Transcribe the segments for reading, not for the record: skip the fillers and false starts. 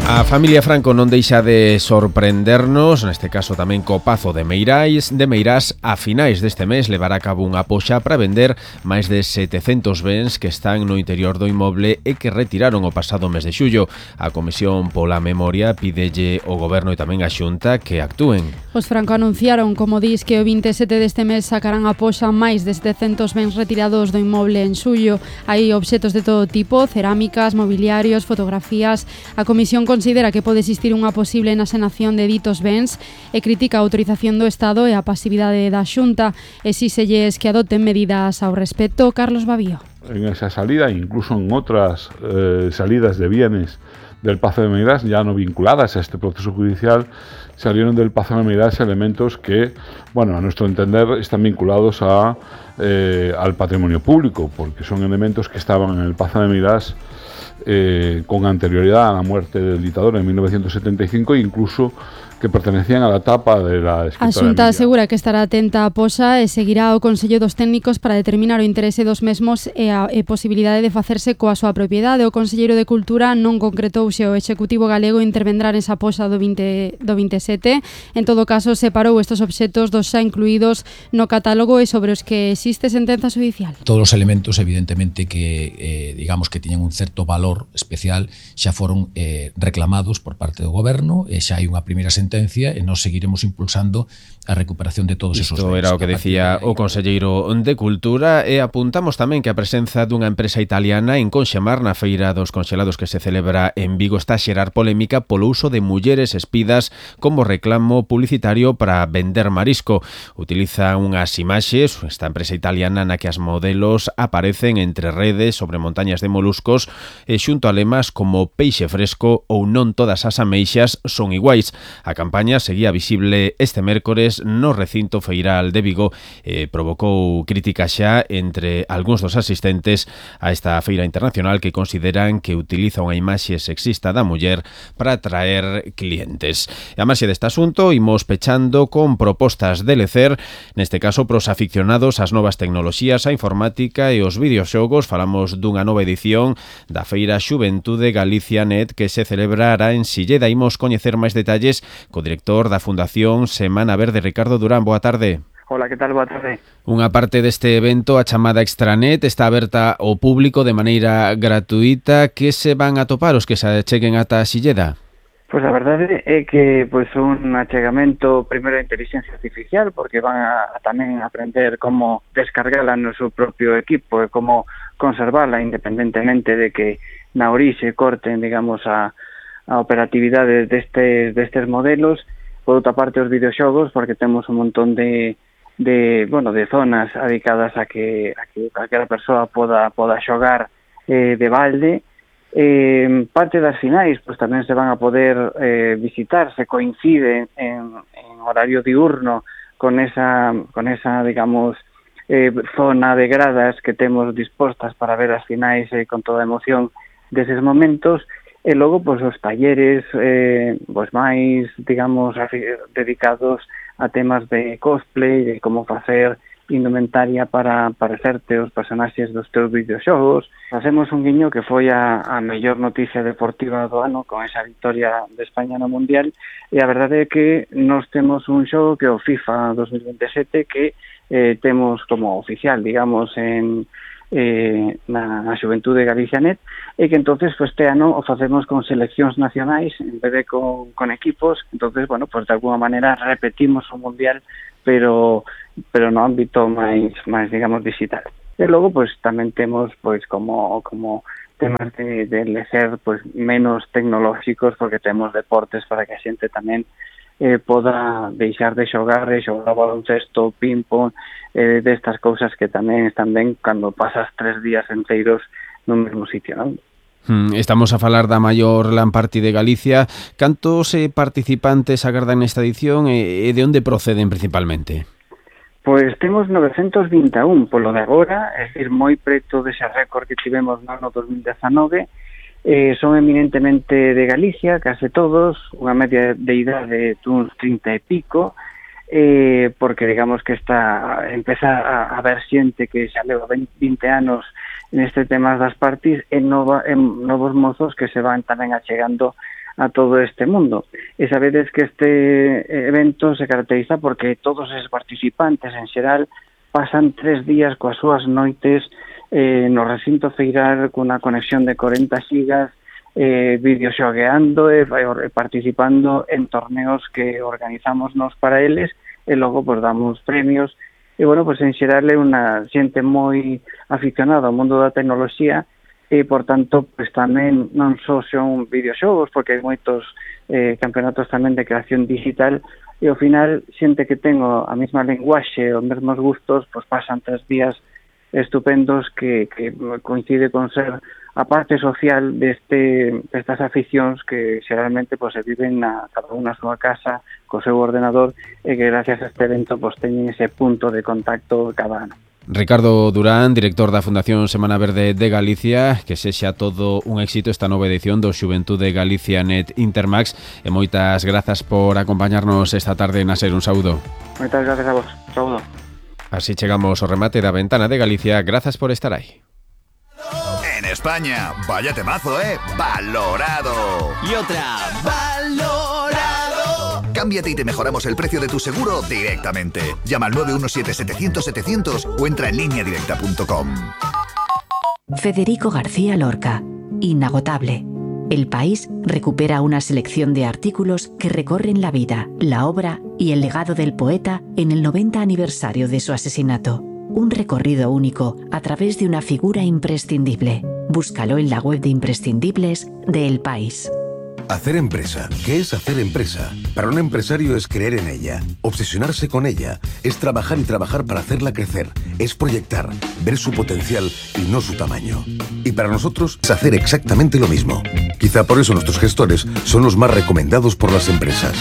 A familia Franco non deixa de sorprendernos, neste caso tamén co Pazo de Meirás. A finais deste mes levará a cabo unha poxa para vender máis de 700 bens que están no interior do inmoble e que retiraron o pasado mes de xullo. A Comisión pola Memoria pídelle ao Goberno e tamén a Xunta que actúen. Os Franco anunciaron, como dis, que o 27 deste mes sacarán a poxa máis de 700 bens retirados do inmoble en xullo. Hai obxetos de todo tipo, cerámicas, mobiliarios, fotografías. A Comisión considera que pode existir unha posible enaxenación de ditos bens e critica a autorización do Estado e a pasividade da Xunta. Exíxelles que adopten medidas ao respecto. Carlos Babío. En esa salida, incluso en otras salidas de bienes del Pazo de Meirás, ya no vinculadas a este proceso judicial, salieron del Pazo de Meirás elementos que, bueno, a nuestro entender, están vinculados al patrimonio público, porque son elementos que estaban en el Pazo de Meirás con anterioridad a la muerte del dictador en 1975 e incluso que pertenecían a la etapa de la escritora. A Xunta asegura que estará atenta á poxa e seguirá o Consello dos Técnicos para determinar o interese dos mesmos e a posibilidade de facerse coa súa propiedade. O Conselleiro de Cultura non concretou se o Executivo galego intervendrá nesa poxa do 27. En todo caso, separou estes obxetos dos xa incluídos no catálogo e sobre os que existe sentenza judicial. Todos os elementos, evidentemente, que digamos que tiñan un certo valor especial xa foron reclamados por parte do Goberno e xa hai unha primeira sentencia e nós seguiremos impulsando a recuperación de todos esos bens. Isto era o que decía o Conselleiro de Cultura e apuntamos tamén que a presenza dunha empresa italiana en Conxamar na Feira dos Conxelados que se celebra en Vigo está a xerar polémica polo uso de mulleres espidas como reclamo publicitario para vender marisco. Utiliza unhas imaxes, esta empresa italiana na que as modelos aparecen entre redes sobre montañas de moluscos e xunto a lemas como peixe fresco ou non todas as ameixas son iguais. A campaña seguía visible este mércores no recinto feiral de Vigo e provocou críticas xa entre algúns dos asistentes a esta feira internacional que consideran que utiliza unha imaxe sexista da muller para atraer clientes. E a marxe deste asunto imos pechando con propostas de lecer, neste caso pros aficionados ás novas tecnoloxías, a informática e os videoxogos. Falamos dunha nova edición da Feira Xuventude Galicia Net que se celebrará en Silleda. Imos coñecer máis detalles co director da Fundación Semana Verde, Ricardo Durán. Boa tarde. Hola, que tal? Boa tarde. Unha parte deste evento, a chamada Extranet, está aberta ao público de maneira gratuita. Que se van a topar os que se acheguen ata Silleda? Pois a verdade é que un achegamento primeiro a inteligencia artificial, porque van a tamén aprender como descargala no seu propio equipo e como conservala independentemente de que na orixe corten, digamos, a operatividade destes modelos. Por outra parte, os videoxogos, porque temos un montón de zonas dedicadas a que calquera persoa poda xogar de balde. Parte das finais pois tamén se van a poder visitar, se coincide en horario diurno con esa digamos, zona de gradas que temos dispostas para ver as finais con toda a emoción deses momentos. E logo, pois, os talleres máis, digamos, dedicados a temas de cosplay, de como facer indumentaria para parecerte os personaxes dos teus videoxogos. Facemos un guiño que foi a mellor noticia deportiva do ano con esa victoria de España no Mundial, e a verdade é que nós temos un xogo que é o FIFA 2027 que temos como oficial, digamos, na Xuventude Galicia Net, e que entonces este ano o facemos con seleccións nacionais en vez de con equipos. Entonces, bueno, pues de alguna manera repetimos o Mundial, pero no ámbito máis digamos digital. E logo pues tamén temos pues como temas de lecer pues menos tecnolóxicos, porque temos deportes para que a xente tamén poda deixar de xogar baloncesto, ping-pong, destas cousas que tamén están ben cando pasas 3 días enteiros no mesmo sitio, non? Estamos a falar da maior LAN Party de Galicia. Cantos participantes agardan nesta edición e de onde proceden principalmente? Pois temos 921 polo de agora, é dicir, moi preto dese récord que tivemos no ano 2019. Son eminentemente de Galicia, case todos, unha media de idade duns 30 e pico, porque digamos que empeza a haber xente que xa leva 20 anos neste tema das parties e novos mozos que se van tamén achegando a todo este mundo. E sabedes que este evento se caracteriza porque todos os participantes en xeral pasan 3 días coas súas noites no recinto feiral cunha conexión de 40 xigas, videoxogueando e participando en torneos que organizamos nos para eles e logo pues damos premios. E, bueno, pues en xeral é unha xente moi aficionada ao mundo da tecnoloxía e, por tanto, pues tamén non só son videoxogos, porque hai moitos campeonatos tamén de creación digital e, ao final, xente que ten a mesma lenguaxe, os mesmos gustos, pues pasan 3 días estupendos que coincide con ser a parte social destas aficións que xeralmente pues, se viven cada unha na súa casa co seu ordenador e que gracias a este evento pues, teñen ese punto de contacto cada ano. Ricardo Durán, director da Fundación Semana Verde de Galicia, que sexa todo un éxito esta nova edición do Xuventude Galicia Net Intermax e moitas grazas por acompañarnos esta tarde na SER. Un saúdo. Moitas gracias a vos. Saúdo. Así chegamos ao remate da Ventana de Galicia. Grazas por estar aí. En España, vaya temazo, Valorado. Y otra, Valorado. Cámbiate y te mejoramos el precio de tu seguro directamente. Llama al 917-700-700 o entra en lineadirecta.com. Federico García Lorca, inagotable. El País recupera una selección de artículos que recorren la vida, la obra y el legado del poeta en el 90 aniversario de su asesinato. Un recorrido único a través de una figura imprescindible. Búscalo en la web de imprescindibles de El País. Hacer empresa. ¿Qué es hacer empresa? Para un empresario es creer en ella, obsesionarse con ella, es trabajar y trabajar para hacerla crecer, es proyectar, ver su potencial y no su tamaño. Y para nosotros es hacer exactamente lo mismo. Quizá por eso nuestros gestores son los más recomendados por las empresas.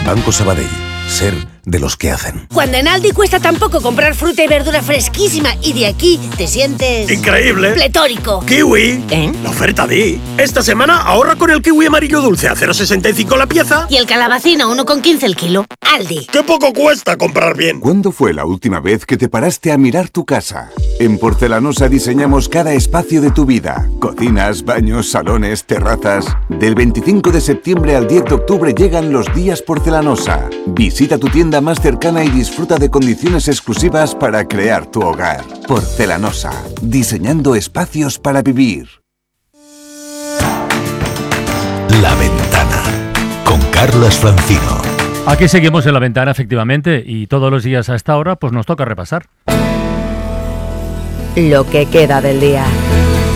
Banco Sabadell. Ser de los que hacen. Cuando en Aldi cuesta tan poco comprar fruta y verdura fresquísima y de aquí te sientes... ¡increíble! ¡Pletórico! ¡Kiwi! La oferta di. Esta semana ahorra con el kiwi amarillo dulce a 0,65 la pieza. Y el calabacín a 1,15 el kilo. Aldi. ¡Qué poco cuesta comprar bien! ¿Cuándo fue la última vez que te paraste a mirar tu casa? En Porcelanosa diseñamos cada espacio de tu vida. Cocinas, baños, salones, terrazas. Del 25 de septiembre al 10 de octubre llegan los días Porcelanosa. Visita tu tienda más cercana y disfruta de condiciones exclusivas para crear tu hogar. Porcelanosa, diseñando espacios para vivir. La Ventana, con Carlos Francino. Aquí seguimos en La Ventana, efectivamente, y todos los días a esta hora pues nos toca repasar lo que queda del día,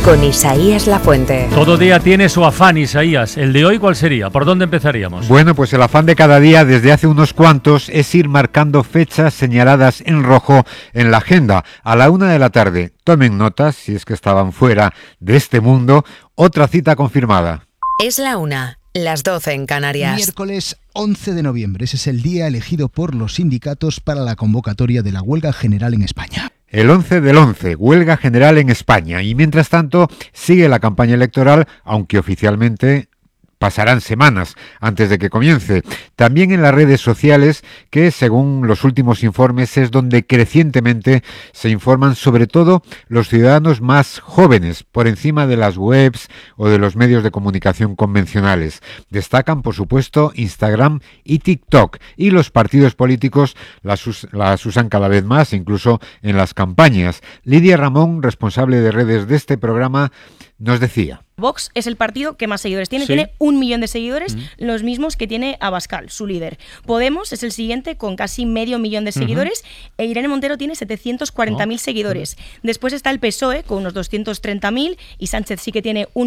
con Isaías Lafuente. Todo día tiene su afán, Isaías. ¿El de hoy cuál sería? ¿Por dónde empezaríamos? Bueno, pues el afán de cada día desde hace unos cuantos es ir marcando fechas señaladas en rojo en la agenda. A la 1 de la tarde, tomen notas, si es que estaban fuera de este mundo, otra cita confirmada. Es la 1, las 12 en Canarias. Miércoles 11 de noviembre, ese es el día elegido por los sindicatos para la convocatoria de la huelga general en España. El 11 del 11, huelga general en España. Y mientras tanto, sigue la campaña electoral, aunque oficialmente pasarán semanas antes de que comience. También en las redes sociales, que según los últimos informes es donde crecientemente se informan sobre todo los ciudadanos más jóvenes, por encima de las webs o de los medios de comunicación convencionales. Destacan, por supuesto, Instagram y TikTok. Y los partidos políticos las usan cada vez más, incluso en las campañas. Lidia Ramón, responsable de redes de este programa, nos decía: Vox es el partido que más seguidores tiene, ¿sí? Tiene 1 millón de seguidores, los mismos que tiene Abascal, su líder. Podemos es el siguiente con casi 500.000 de seguidores, e Irene Montero tiene 740.000 seguidores. Después está el PSOE con unos 230.000 y Sánchez sí que tiene 1